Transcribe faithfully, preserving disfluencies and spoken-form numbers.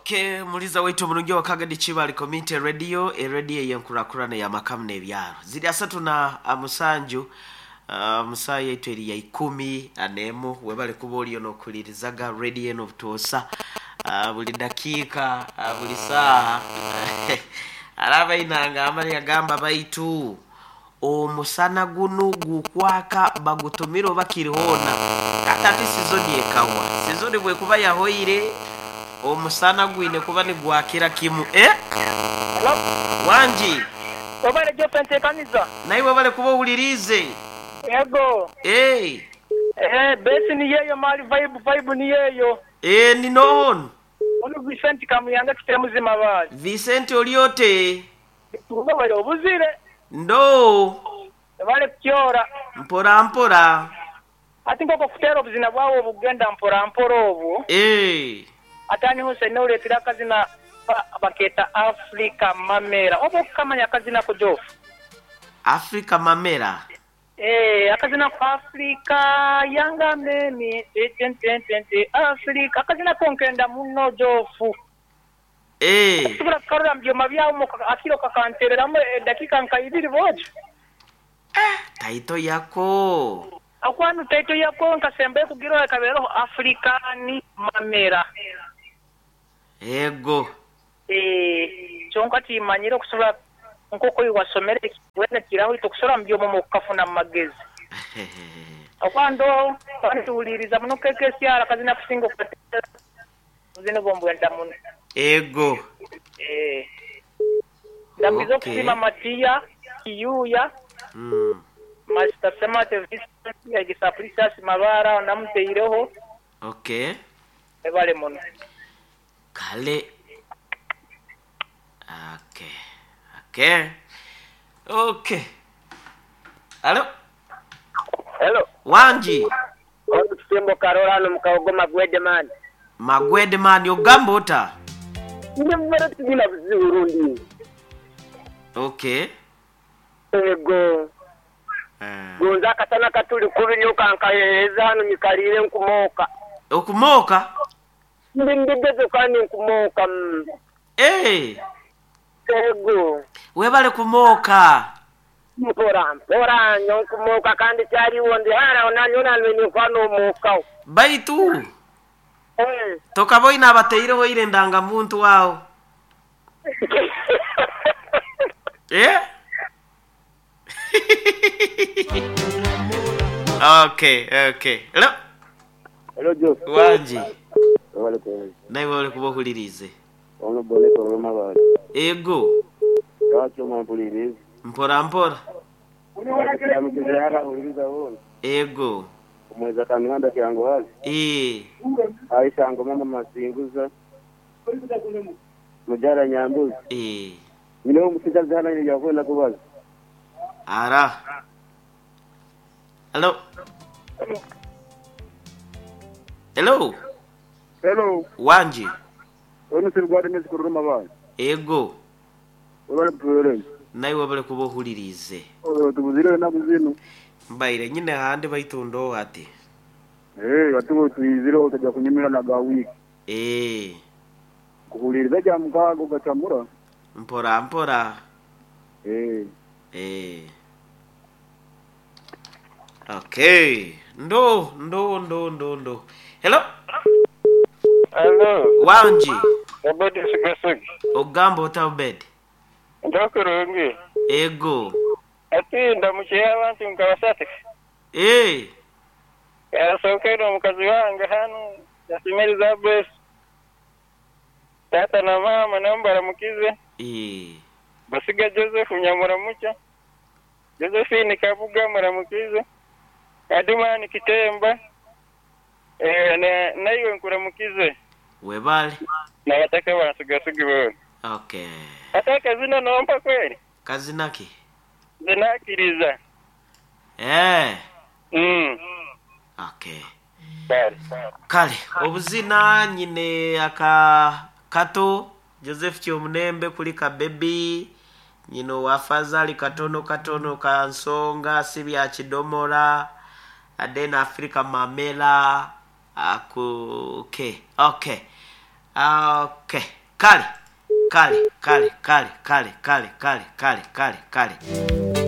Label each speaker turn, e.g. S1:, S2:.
S1: Okay, muliza waitu omurungi wa Kagadi Kibali Community Radio, eradio yenkurakurana ya makamu n'ebyaro ziri asatu na musanju. uh, musaaya yaitu eri ya ikumi anemu. Webale kuba oliyo n'okulirizaga radio eno obutuusa uh, buli dakiika, uh, buli saaha. Araba inanga amali yagamba baitu omusana gunu gukwaka bagutumire oba kirihoona kati ati sizoni ekawa sizoni bwekuba yahoire omusana gwine kuba nigwakira kimu eh?
S2: Hello?
S1: Wangi.
S2: Webale Geoffrey nteekaniza.
S1: Naye webale kuba owulirize.
S2: Yego.
S1: Eh,
S2: Eh, besi ni yeyo mali vibe vibe ni yeyo.
S1: eh, ninohono.
S2: Ono Vicente Kamuyanga kitera muzima bali.
S1: Vicente oliote?
S2: Turuba bali obuzire.
S1: Ndo.
S2: Bale kukyora.
S1: Mpora mpora.
S2: Ati nkoko kutera obuzina bwawe obugenda mpora mpora obwo.
S1: Eh,
S2: Atani hose noletera akazina ba- baketa Africa Mamera. Oba okukamanya akazina ko Joff.
S1: Africa Mamera.
S2: Eh, akazina ko Africa yanga memi ten ten ten ten Africa akazina ko nkenda muno Joff.
S1: Eh,
S2: Tubura kukarura mu byoma byawo mu akiro kakantereramu edakika nka ibiri bojo.
S1: Taito yako.
S2: Akwanu taito yako nkasembe kugira kabereho Afrikani Mamera.
S1: Ego.
S2: Eh, kyonka timanyire okusobola nk'oku wasomere wena kiraho itokusobola mu byoma mu kukafuna mu magezi. Okwando tuwuliriza muno kekesyara kazina kusinga okutera buzina bwombwenda muno.
S1: Ego.
S2: Eh. Ndambiza
S1: Okay.
S2: okusima Matiya, Kiyuya,
S1: Mm.
S2: Master Semate Vincent, Yagisa Precious Mabara namuteireho
S1: Okay.
S2: ebale muno.
S1: Kale. Okay. Okay. Okay. Halo.
S3: Hello.
S1: Wangi.
S3: Ono kisembo Karola hano mukawogo Magwede man.
S1: Magwede man ogamba ota?
S3: Ndi mubere tugina buzibu rundi.
S1: Okay.
S3: Ego.
S1: Eh.
S3: Gonza akasana katuli kubi nnyo kankaheereza hano nyikalire nkumooka.
S1: Okumooka?
S3: Ndi ndigezo kandi nkumooka. mm.
S1: Eh.
S3: Ego.
S1: Webale kumooka.
S3: Mpora mpora nnyo nkumooka kandi kyaliwo ndi hara onanyo nanwe ninkwana omwokawo.
S1: Baitu
S3: Eh.
S1: tokaboina abateireho ire ndangamuntu wawo. Eh? Okay, okay. Hello.
S4: Hello Joe.
S1: Wangi.
S4: Webale kuweza.
S1: Naye webale kuba ohulirize.
S4: Ono boneko olw'amabaali.
S1: Ego.
S4: Lwaki omampuliriza?
S1: Mpora mpora.
S4: Kiramukiza yakahuliriza wona.
S1: Ego.
S4: Omweza kamihanda kyangu hazi.
S1: Eh.
S4: Aisha ngo mama masinguza. Mujara nyambuzi.
S1: Eh.
S4: Nyina omusigazi hano nyina yakwenda kubaza.
S1: Ara. Hello. Hello.
S4: Hello.
S1: Wangi.
S4: Ono sirugwade mezi kuruma mabaali.
S1: Ego.
S4: Webale kutuwereza.
S1: Naye webale kuba ohulirize.
S4: Tubuzire enaku zino.
S1: Mbaire nyine handi baitundoho ati.
S4: Eh, atubo tuyizireho tajja kunyumira na ga wiiki.
S1: Eh.
S4: Kuhuliriza kya mukaaga ogatamura.
S1: Mpora mpora.
S4: Eh.
S1: Eh. Okay. Ndo ndo ndo ndo ndo. Hello.
S5: Hello.
S1: Wangi.
S5: Obedi Sigasugi.
S1: Ogamba ota Obedi?
S5: Ndokurungi.
S1: Ego.
S5: Ati ndamukiye abantu nkabasate.
S1: Eh.
S5: Yasookera omukazi wange hano yasima Elizabeth. Tata na mama nabo baramukize.
S1: Eh.
S5: Basiga Joseph Nyamuramucha. Josephine Kabuga muramukize. Adumani Kitemba. Eh, na naiwe nkuramukize.
S1: Webale.
S5: Nabataka bansigasugi boona.
S1: Okay.
S5: Ate akazina nompa kweli?
S1: Kazina ki?
S5: Zinakiriza.
S1: Eh.
S5: Mm.
S1: Okay.
S5: Kale.
S1: Kale obuzina nyine aka kato Joseph Kyomunembe kuli ka baby nyino wafazali katono katono ka nsonga si bya kidomola then Africa Mamela aku okay okay. Okay, kale kale kale kale kale kale kale kale kale kale.